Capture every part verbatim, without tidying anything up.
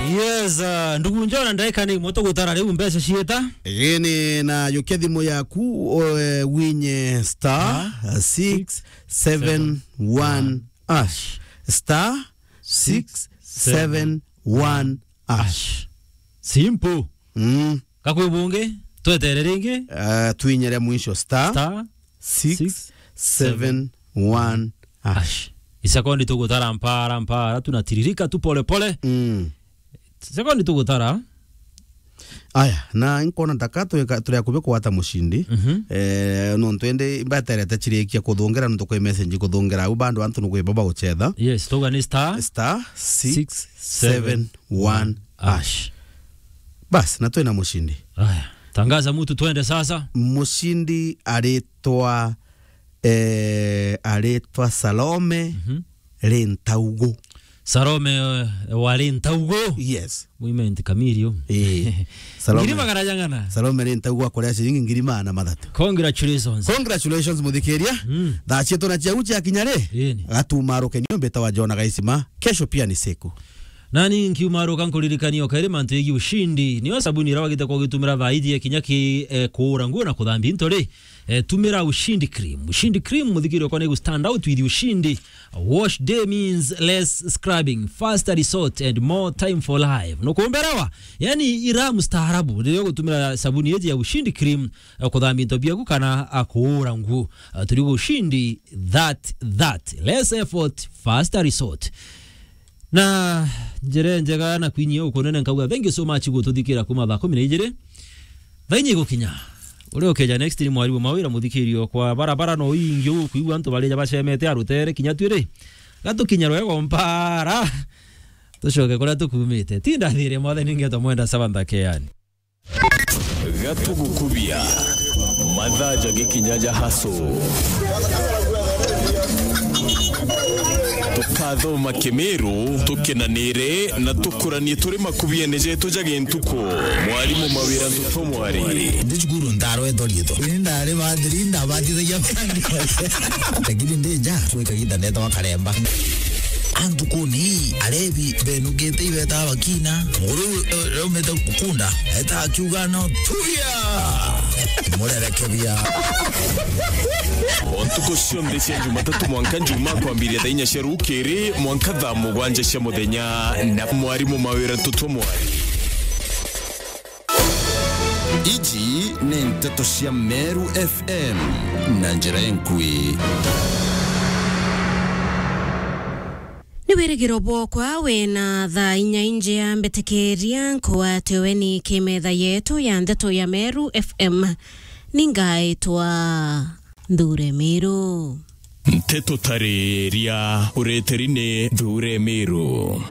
Yes, uh, ndugu Njona, ndaika ni imwe tugutara riu mbeca ciita. Gini na yukia thimu yaku, o, eh, winye star, uh, six seven one hash. Star six seven one hash. Simple. Mm. Gakwi bungi, twetere ringi. Uh, twinyere mwisho star six seven one hash. Isekondi tugutara mpara, mpara, tunatiririka tu pole pole. Mm. Sekondi tugutara. Aya, na nkona taka turi akubi kwata mushindi. Mhm. Eh, nontu indi mbaterete chirikia kuthungira nontu kwi message kuthungira au bado antu nukwiba baguchetha. Yes, tuga ni star six seven one hash. Bas, na twina mushindi. Aya, tangaza mtu twende sasa. Mushindi aritwa, eh, aritwa Salome, mhm, Rintaugu. Salome, eh, wa Rintaugu. Yes. Women Kamilio. Eh. Salome. Ngiri magana jang'ana. Salome Rintaugu akuria ciringi ngiri magana mathatu. Congratulations. Congratulations, muthikiria. Mm. Thaa cietu na ciau ciakinya ri? Ii ni. Gatumaruke nio mbita wa Jona Gaisima. Kesho pia ni siku. Nani nkiumaruka nkuririkania o kairi mantu yegii ushindi. Nio sabuni iria wagite kwa ugitumira thaa iji ya kinya ki, eh, kuura nguo na kuthambia into ri. Eh, tumira Ushindi Cream. Ushindi Cream, muthikiri okwa ni gu stand out with Ushindi. Wash day means less scrubbing, faster result and more time for life. Nukumberewa? Yani ira mustaarabu riria ugutumira sabuni iji ya Ushindi Cream, eh, kuthambia into biaku kana, ah, kuura nguo. Ah, turi Ushindi that, that. Less effort, faster result. Na njira njega na kwinyia ukunene nkauga, thank you so much gututhikira kuma thaa kumi na ijiri. Thaa inya igukinya. Uria ukeja next ni mwarimu Mawira, muthikirio kwa barabara no ingi ukwigua antu barija bacemete arutere kinya twiri. Gatukinya rwego mpara. Tucoke kuria tukumite. Tinda thire mwathani ngeto mwenda saba nthakeani. Gatugukubia. Mathaa jagikinya ja haso. Tukathoma Kimiru, tukenanire na tukuranie turi makubiene jetu ja gintuku. Mwarimu Mawira Ntuto Mwari. Ndi cukuru ndarwetwa riitwa. Ini ndari bathiri, ndabatithagia bandi. Lakini ndi nja, twi kaginda ndetagwa Karemba. Antukuni, arebi benugite ibeta bakina. Muguru, eh, umete kukunda. Eta akiuga no, tuya! Murerekebia. O ntuku cionthe cia Jumatatu mwanka Njumaa kwambiria thaa inya cia rukiri mwanka thaa mugwanja cia muthenya na mwarimu Mawira Ntuto Mwari. Iji ni nteto cia Meru F M na njira enkui. Ni wirigiro bwokwa wina thaa inya injea, mbitikiria nkwate weni kimetha yetu ya nteto ya Meru F M. Ningaitwa Nthure Miru. Nteto tariria ureteri ni Nthure Miru.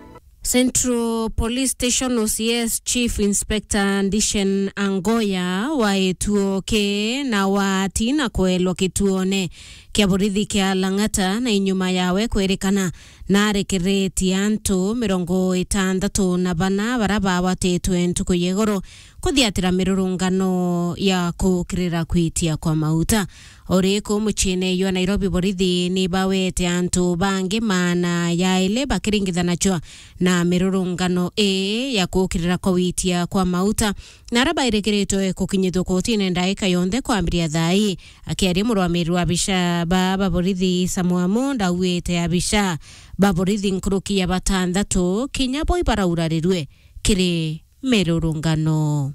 Central Police Station O C S Chief Inspector Ndishen Angoya wa Etuo ki na watina kwelwa kituone kia borithi kia Lang'ata na inyuma yawe kwerikana narekeretie antu mirongo itantatu na bana bara bagwatitwe ntuku ya igoro kuthiatira mirurungano ya kukirira kwitia kwa mauta. Ori ku muciine jwa Nairobi, borithi ni bawete antu bangi maana jaili bakiringithanachwa na mirurungano ii ya kukirira kwa witia kwa mauta, na ara bairikiritwe kukinyithua kotine ndaika yonthe kwambiria thaa ii. Akiaria murwamiri wa abisha ba, ba borithi Samuel Munda auite abisha ba borithi nkuruki ya batantatu kinya bo ibaraurarirwe kiri mirurungano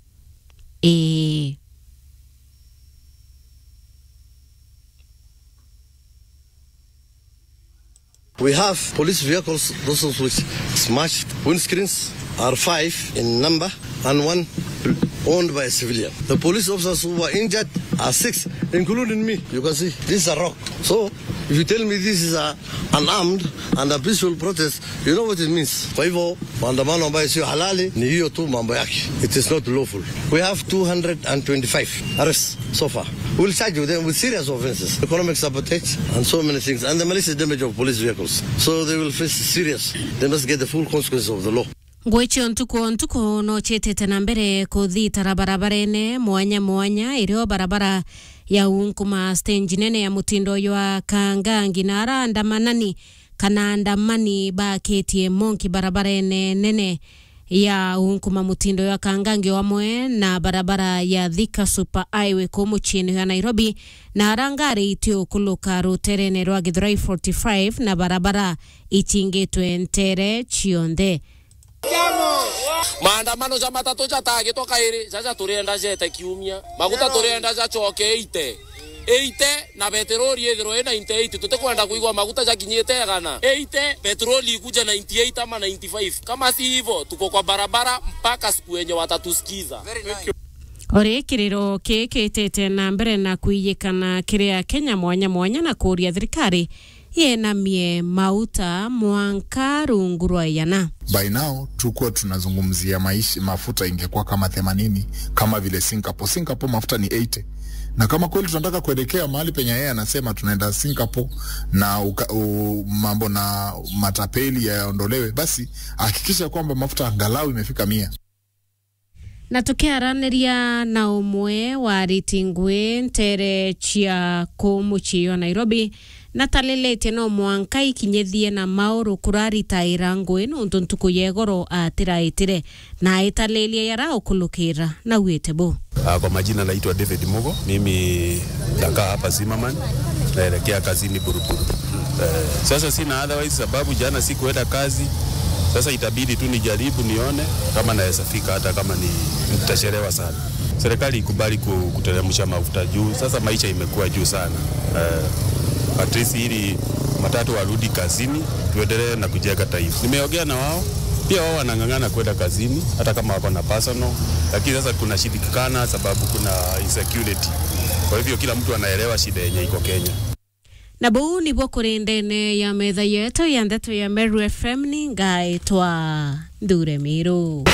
ii. We have police vehicles, those of which smashed. Windscreens are five in number and one owned by a civilian. The police officers who were injured are six, including me. You can see, this is a rock. So, if you tell me this is a, an armed and a peaceful protest, you know what it means. Kwa hivyo, maandamano ambayo sio halali ni hiyo tu mambo yake. It is not lawful. We have two hundred and twenty-five arrests so far. We'll charge them with serious offenses, economic sabotage, and so many things, and the malicious damage of police vehicles. So they will face serious. They must get the full consequences of the law. Ngui cia ntuku o ntuku no ciitite na mbere kuthitara barabarene mwanya mwanya, irio barabara ya Unkuma stage nene ya mutindo jwa Kangangi, na ara andamanani kana andamani bakitie monki barabarene nene ya unkuma mutindo ya Kangangi o amwe na barabara ya Thika Super Highway kuu muciini ya Nairobi, na ara ngari itiukuluka ruterene rwa Githurai forty-five na barabara itingitwe ntere cionthe. Maandamano ja matatu jatagitwa kairi, jaja turienda jete kiumia. Maguta turienda jacoke eighty. Eighty na petroli ithirwe i ninety-eight. Tutikwenda kuigua maguta jakinyite igana. Eighty, petroli ikuje ninety-eight ama ninety-five. Kama si hivyo, tuko kwa barabara mpaka siku yenye watatusikiza. Ori kiriro kii kitite na mbere na kwiyikana kiri Akenya mwanya mwanya na kuuria thirikari yenamie mauta mwanka rungu rwa igana. By now, tukuwa tunazungumzia maisha, mafuta ingekuwa kama themanini, kama vile Singapore. Singapore mafuta ni eighty. Na kama kweli tunataka kuelekea mahali penye yeye anasema tunaenda Singapore na uka, u, mambo na matapeli yaondolewe, basi hakikisha kwamba mafuta angalau imefika mia. Na tukiaraniria na umwe wa ariti ngui ntere cia kuu mucii wa Nairobi, natalilite no mwanka ikinyithie na mauru kuraritaira ngui nuntu ntuku ya igoro atiraitire, na aitalilia yara ukulukira na wite bu. Ah, kwa majina naitwa David Mugo, mimi nakaa hapa Zimmerman, naelekea kazini Buruburu. Eh, sasa sina otherwise sababu jana sikuenda kazi. Sasa itabidi tu nijaribu nione kama naweza fika, hata kama ni nitachelewa sana. Serikali ikubali ku-, kuteremsha mafuta juu. Sasa maisha imekuwa juu sana. Eh, at least ili matatu warudi kazini, tuendelee na kujenga taifa. Nimeongea na wao, pia wao wanang'ang'ana kwenda kazini, hata kama wako na personal. Lakini sasa kunashindikana sababu kuna insecurity. Kwa hivyo kila mtu anaelewa shida yenye iko Kenya. Na buu nibuo kuri ndene ya metha yetu ya ndeto ya Meru F M, ni ngaitwa Nthure Miru.